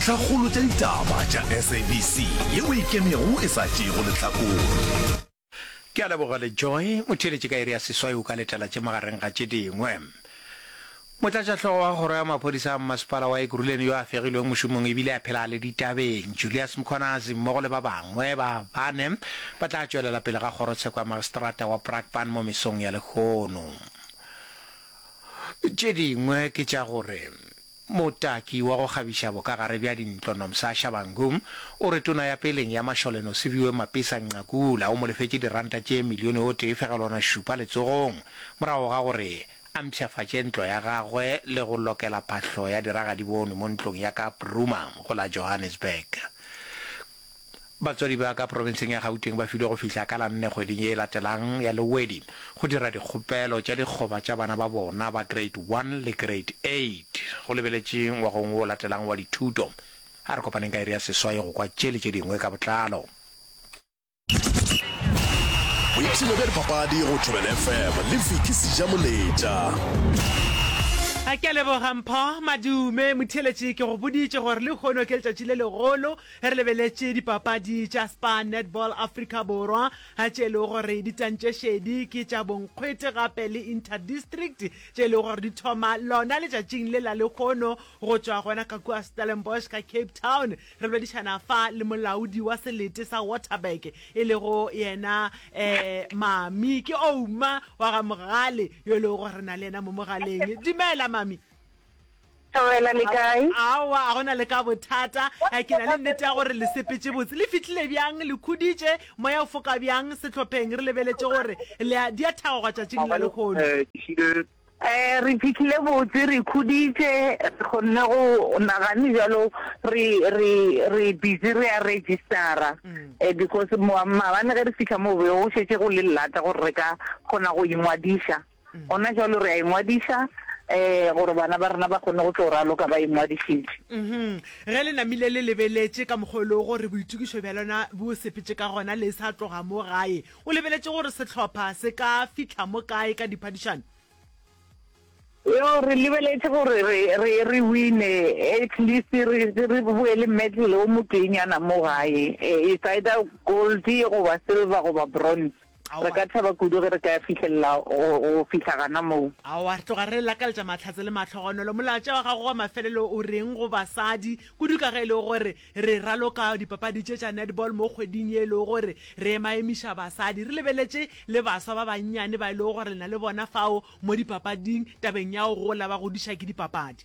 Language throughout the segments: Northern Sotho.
Dintlhakgolo tša ditaba tša SABC yeo e ikemego e sa tšeego lehlakore. Ke a leboga le Joy. Motheeletši ka iri ya seswai o ka letela tše magareng ga tše dingwe. Motlatšahlogo wa kgoro ya maphodisa a mmasepala wa Ekurhuleni yo a fegilweng mošomong ebile a phela a le ditabeng, Julius Mkhwanazi mmogo le ba bangwe ba bane ba tla tšwelela pele ga kgorotsheko ya magistrata wa Brakpan mo mesong ya lehono. Tše dingwe ke tša gore Motaki wa go kgabiša bokagare bja dintlo Nomsa Shabangu o re tona ya peleng ya mašole Nosiviwe Mapisa Nqakula o mo lefetše diranta tše milione o tee fegelwana šupa letsogong morago ga gore a mpshafatše ntlo ya gagwe le go lokela phahlo ya diragadibonwe mo ntlong ya ka Bruma go la Johannesburg. Batswadi ba ka profenseng ya Gauteng ba filwe go fihla ka la nne kgweding ye e latelang ya Lewedi go dira dikgopelo tša dikgoba tša bana ba bona ba Grade One le Grade Eight go lebeletše ngwagong wo o latelang wa dithuto. A re kopaneng ka iri ya seswai go kwa tše le tše dingwe ka botlalo. Boipshino bja dipapadi go Thobela FM le Vicky Sejamoletša. Ke a leboga Mpho Madume. Motheeletši, ke go boditše gore lehono ke letšatši le legolo Ge re lebeletše dipapadi tša Spar Netball Afrika Borwa tše e lego gore di tantše šedi ke tša bonkgwete gape le Inter-District tše e lego gore di thoma lona letšatšing le la lehono go tšwa gona ka kua Stellenbosch ka Cape Town. Re boledišana fa le molaodi wa selete sa Waterberg e lego yena um Mami ke Ouma wa ga Mogale yo e lego gore re na le yena mo mogaleng. Dumela Mami. Thobela le kae? Aowa, a gona le ka bothata. Eh, ke na le nnete ya gore le sepetše botse. Le fihlile bjang? Le khuditše? Moya o foka bjang sehlopheng? Re lebeletše gore le a di a thagoga tšatšing la lehono. Eh, re fihlile botse, re khuditše, re kgonne go nagane bjalo re re re busy re a registera. Eh, because maabane ge re fihla mo be go šetše go le llata gore re ka kgona go ingwadiša. Gona jwalo re a ingwadiša um gore bana ba rena ba kgone go tlo raloka ba ingwadišitše. Ge le namile le lebeletše ka mokgwa o lego gore boitokišo bja lona bo sepetše ka gona le sa tloga mo gae, o lebeletše gore sehlopha se ka fihla mo kae ka diphadišano? Yo, re lebeletše gore re, re, re wine, at least re, re boe le medal o moteenyana mo gae, it's either gold goba silver goba bronze. Re ka thaba kudu ge re ka fihlelela go, go fihla gana moo. Aowa, re tloga re lakaletša mahlatse le mahlogonolo. Molaetša wa gago wa mafelelo o reng go basadi, kudu ka ge e le gore re raloka dipapadi tše tša netball mo kgweding ye e lego gore re emaemiša basadi, re lebeletše le baswa ba bannyane ba e lego gore le na le bona fao mo dipapading tabeng ya go gola ba godiša ke dipapadi?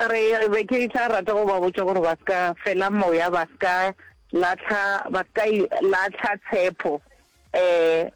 Re be ke tla rata go ba botša gore ba se ka fela moya, ba se ka lahla, ba se ka lahla tshepo. Um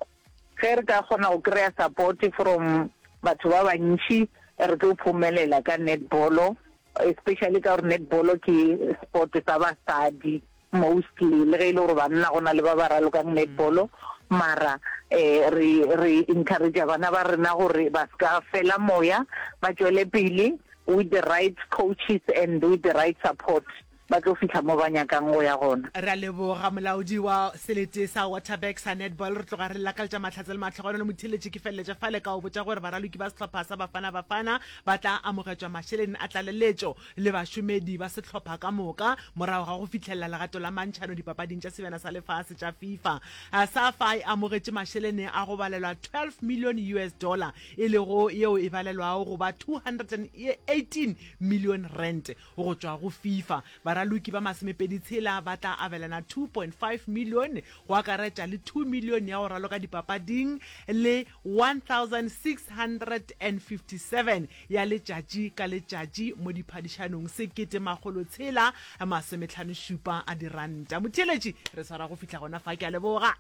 ge re ka kgona go kry-a support from batho ba bantši, re tlo phomelela ka netball, especially ka gore netball ke sport sa basadi mostly, le ge e le gore banna go na le ba ba ralokang netball, mara um re re encourage-a bana ba rena gore ba se ka fela moya, ba tšwele pele with the right coaches and with the right support, ba tlo fihla mo ba nyakang go ya gona. Re a leboga molaodi wa selete sa Waterberg sa netball. Re tloga re lakaletša mahlatse le mahlogonolo. Motheeletši ke feleletša fale ka go botša gore baraloki ba sehlopha sa Bafana Bafana ba tla amogetšwa mašeleng a tlaleletšo le bašomedi ba sehlopha ka moka morago ga go fihlelela legato la mantšhano dipapading tša Sebjana sa Lefase tša FIFA. Safa e amogetše mašelene a go balelwa 12 million US dollar, e lego yeo e balelwago go ba 218 million rand go tšwa go FIFA. Baraloki ba masomepeditshela ba tla abelana 2.5 million, go akaretša le 2 million ya go raloka dipapading le 1657 ya letšatši ka letšatši mo diphadišanong, 1657 a diranta. Motheeletši, re swara go fihla gona fa. Ke a leboga.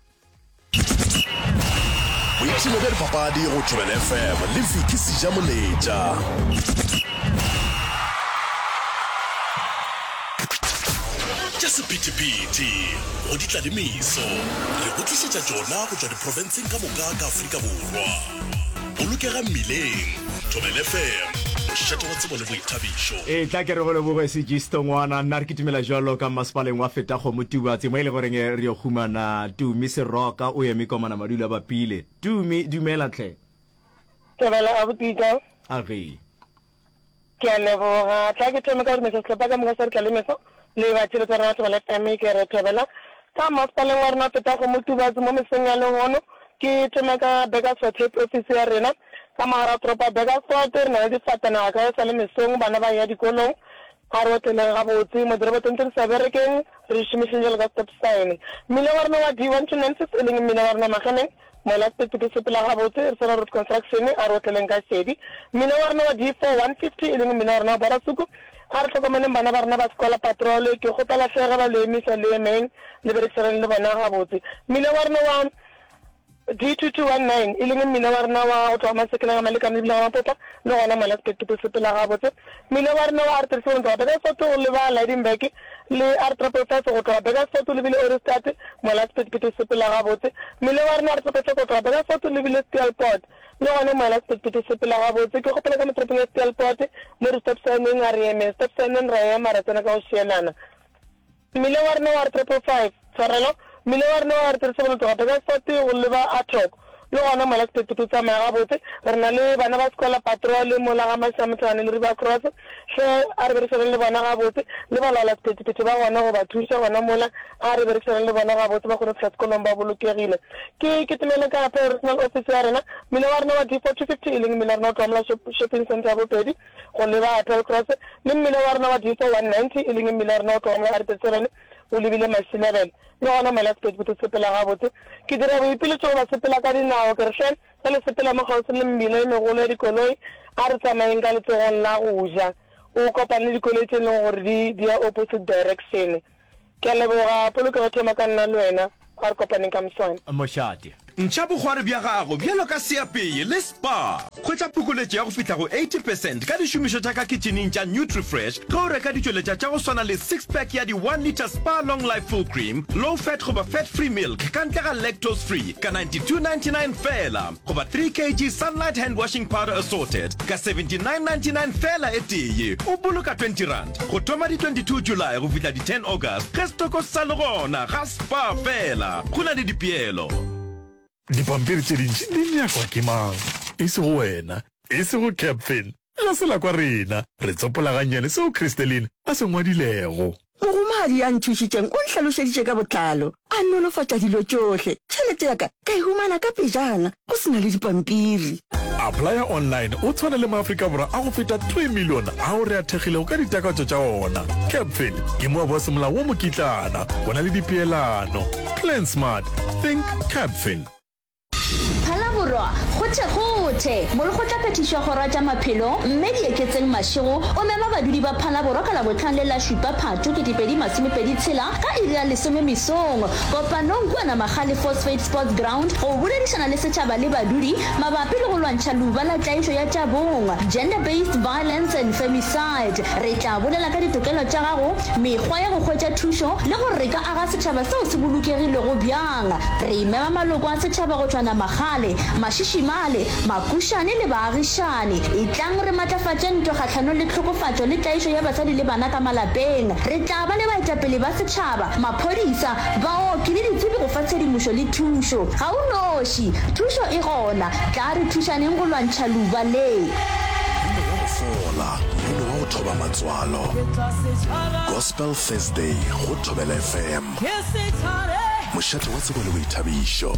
Boipshino bja dipapadi go Thobela FM le Vicky Sejamoletša. Tša sephethephethe go di tla le meso, re go tlišetša tšona go tšwa diprofenseng ka moka ka Afrika Borwa. Bolokega mmileng, Thobela FM, mošate wa tsebo le boithabišo. E tla ke re go leboge Sejisto ngwana, nna re kitimela jwalo ka mmasepaleng wa Fetakgomo Tubatse mo e le goreng re yo humana Tumi Seroka o eme komana madulo a bapile. Tumi dumela tlhe. Thobela abuti ka. Age. Ke a leboga. Tla ke thome ka go dumediša sehlopha ka moka sa Ditlalemeso le batheeletši ba rena ba Thobela FM. Ke re thobela ka masepaleng wa rena wa Fetakgomo Tubatse mo mesong ya lehono. Ke thome ka Burgersfort Head Office ya rena ka mogare wa toropo ya Burgersfort. Re na le difatanaga ka e sa le mesong, bana ba eya dikolong. A re otleleng gabotse mo dirobotong tše di sa berekeng, re di šomišeng bjalo ka stop sign. Mmila wa rena wa D1296 e leng mmila wa rena wa Mageneng, Mola sephethephethe se sepela gabotse, re swana road construction, a re otleleng ka šedi. Mmila wa rena wa D4 150 e leng mmila wa rena wa Borasuku, a re hlokomeleng bana ba rena ba sekola patrol, ke kgopela hle ge ba le emisa le emeng le berekisaneng le bona gabotse. Mmila wa rena wa D2219 e leng mmila wa rena wa go tloga Masekeleng a Malekane le Bile ga Mapopa le gona mola sephethephethe se sepela gabotse. Mmila wa rena wa R37 go tloga Burgersfort go leba Lydenburg le R555 go tloga Burgersfort o lebile Ohrigstad, mola sephethephethe se sepela gabotse. Mmila wa rena R555 go tloga Burgersfort o lebile Steelpoort, le gona mola sephethephethe se sepela gabotse. Ke kgopela ka mo toropong ya Steelpoort mo di stop sign-eng a re emeng stop sign-eng ra ema ra tsena ka go šielana. Mmila wa rena wa R555, tshwarelo, mmila wa rena wa R37 go tloga Burgersfort go leba Atok, Le gona mola sephethephethe se tsamaya gabotse, re na le bana ba sekola patrol mola ga Mashamthane le River Cross. Hle a re berekišaneng le bona gabotse, le balaola sephethephethe ba gona go ba thuša gona mola. A re berekišaneng le bona gabotse ba kgone go fihla sekolong ba bolokegile. Ke kitimele ka gape Regional Office ya rena, mmila wa rena wa D4250 e leng mmila wa rena o tloga mola Shopping Centre ya Bopedi go leba Appel Cross le mmila wa rena wa D4190 e leng mmila wa rena o tloga mola R37 o lebile Masilebele. Le gona mola sephethephethe se sepela gabotse, ke dira boipiletšo go basepela ka dinao, ke re, Hle, ge le sepela mo kgauswi le mebila e megolo ya dikoloi, a re tsamayeng ka letsogong la go ja, o kopane le dikoloi tše e leng gore di di ya opposite direction. Ke a leboga, polokego thoma ka nna le wena, a re kopaneng ka moswane. Mošate. Ntšha bokgwari bja gago bjalo ka seapei le Spar. Hwetša phokoletšo ya go fihla go 80 percent ka dišomišwa tša ka kitšhining tša Nutrifresh ge o reka ditšweletša tša go swana le six pack ya di one litre Spar Long Life Full Cream, Low Fat goba Fat Free Milk ka ntle ga Lactose Free ka 92.99 feela goba 3 kg Sunlight Hand Washing Powder Assorted ka 79.99 feela e tee. O boloka R20 go thoma di 22 July go fihla di 10 August ge setoko se sa le gona ga Spar feela. Go na le dipeelo. Dipampiri tše dintši di nyakwa ke mang? E sego wena, e sego Captain. Ga se la kwa rena. Re tsopola gannyane seo Christeline a se ngwadilego. Mogomadi ya nthušitšeng o nhlalošeditše ka botlalo, a nolofatša dilo tšohle. Tšhelete ya ka ka e humana ka pejana, go se na le dipampiri. Applya online o tshwane le maAfrika Borwa a go feta 3 milione ao re a thekgilego ka ditakatso tša ona. Capfin ke moabi wa semolao wa mokitlana. Go na le dipeelano. Plan smart. Think Capfin. Phalaborwa, Kgothekgothe! Molekgotlaphethiši wa Kgoro ya tša Maphelo, Mme Dieketseng Mashego, o mema badudi ba Phalaborwa ka Labohlano le la šupa Phatho 2026 ka iri ya lesome mesong kopanong kua Namagale Phosphate Sports Ground go boledišana le setšhaba le badudi mabapi le go lwantšha leuba la tlaišo ya tša bong, Gender Based Violence and Femicide. Re tla bolela ka ditokelo tša gago, mekgwa ya go hwetša thušo le gore re ka aga setšhaba seo se bolokegilego bjang. Re mema maloko a setšhaba go tšwa Namagale, Mašišimale, Makušane le baagišani. Etlang re matlafatše ntwa kgahlanong le tlhokofatšo le tlaišo ya basadi le bana ka malapeng. Re tla ba le baetapele ba setšhaba, maphodisa, baoki le ditsebi go fa tshedimošo le thušo. Ga o noši. Thušo e gona. Tlaa re thušaneng go lwantšha leuba le. Mmino wa go fola, mmino wa go thoba matswalo. Gospel Thursday go Thobela FM. Mošate wa tsebo le boithabišo.